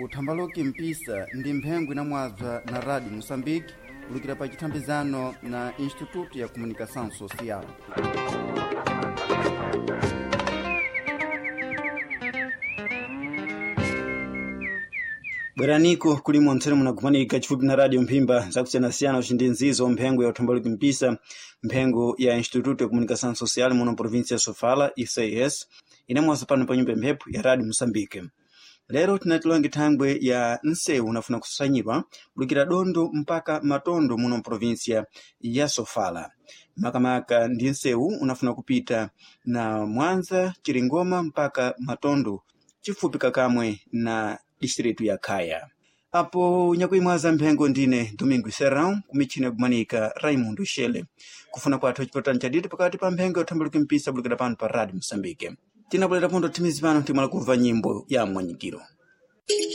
Uthambaloki mpisa ndi mphengo inamwabza na Rádio Moçambique kulukira pa chithambizano na Instituto ya Comunicação Social. Bweraniko kulimo ntsene munagumanika chifupi na radio mphimba zakusiyanasiyana ucindi nzizo mphengo ya uthambaloki mpisa, mphengo ya Instituto ya Comunicação Social muno província ya Sofala ICS inamwaza pano pa nyumba ya mphepo ya Radio Moçambique. Lero tinatilonge thangwe ya nsewu unafuna kusanyidwa kulukira Dondo mpaka Matondo muno província ya Sofala. Makamaka ndi nsewu unafuna kupita na Mwanza, Chiringoma mpaka Matondo chifupi kakamwe na distritu ya Khaya. Apo nyakuimwaza mphengo ndine Domingo Serrão kumichini yakumanika Raimundo Shele. Kufuna kwathu chipotani chadidi pakati pa mphengo ya uthambuluki mpisa bulukira pano pa Radio Moçambique. Tinabwelera pondo thimizi pano timala kumva nyimbo ya mwanyikiro.